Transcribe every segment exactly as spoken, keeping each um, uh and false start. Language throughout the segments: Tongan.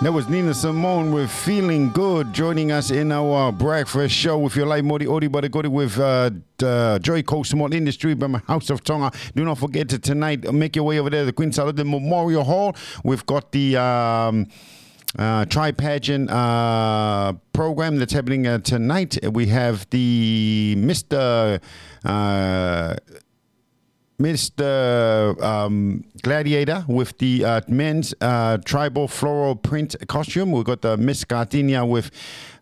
That was Nina Simone with Feeling Good, joining us in our breakfast show with your light mori ori bari kori with uh, uh, Joy Coast Small Industry by my House of Tonga. Do not forget to tonight, make your way over there to the Queen Salote Memorial Hall. We've got the um, uh, Tri Pageant uh, program that's happening uh, tonight. We have the Mister Uh, Mister Um, Gladiator with the uh, men's uh, tribal floral print costume. We got the Miss Gardenia with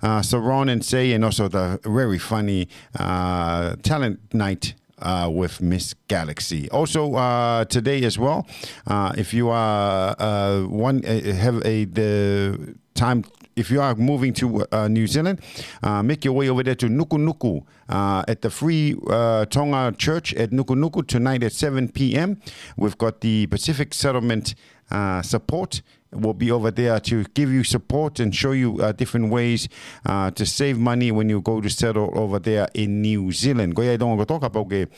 uh, Saron and Say, and also the very funny uh, talent night uh, with Miss Galaxy. Also uh, today as well, uh, if you are uh, one uh, have a the time, if you are moving to uh, New Zealand, uh, make your way over there to Nukunuku uh, at the Free uh, Tonga Church at Nukunuku tonight at seven p.m. We've got the Pacific Settlement uh, Support will be over there to give you support and show you uh, different ways uh, to save money when you go to settle over there in New Zealand. Ko ia e tonga kotoa kapau ke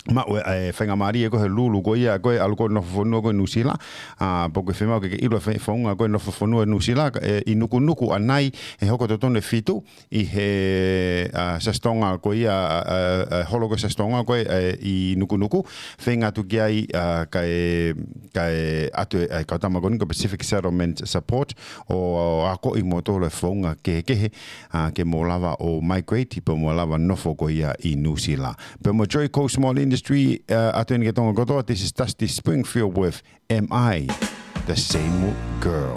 maʻu e faingamālie ko e lulu ko ia ko e ʻalu ko e nofo fonua ko e Nuʻusila. Pau ke fiemaʻu ke ke ʻilo e founga ko e nofo fonua Nuʻusila, ʻi Nukunuku ʻanai, he hoko totonu e fitu ʻi he Siasi Tonga ko ia, holo ko e Siasi Tonga ko e ʻi Nukunuku. Feinga atu ki ai kae ʻatu e kau tama ko eni ko e Pacific Settlement Support ʻo akoʻi moutolu e founga kehekehe ke mou lava ʻo migrate pea mou lava nofo ko ia ʻi Nuʻusila. Pea mo Joy Coast Small Industry, ʻatu eni ki he tonga kotoa, this is Dusty Springfield with Am I the Same Girl?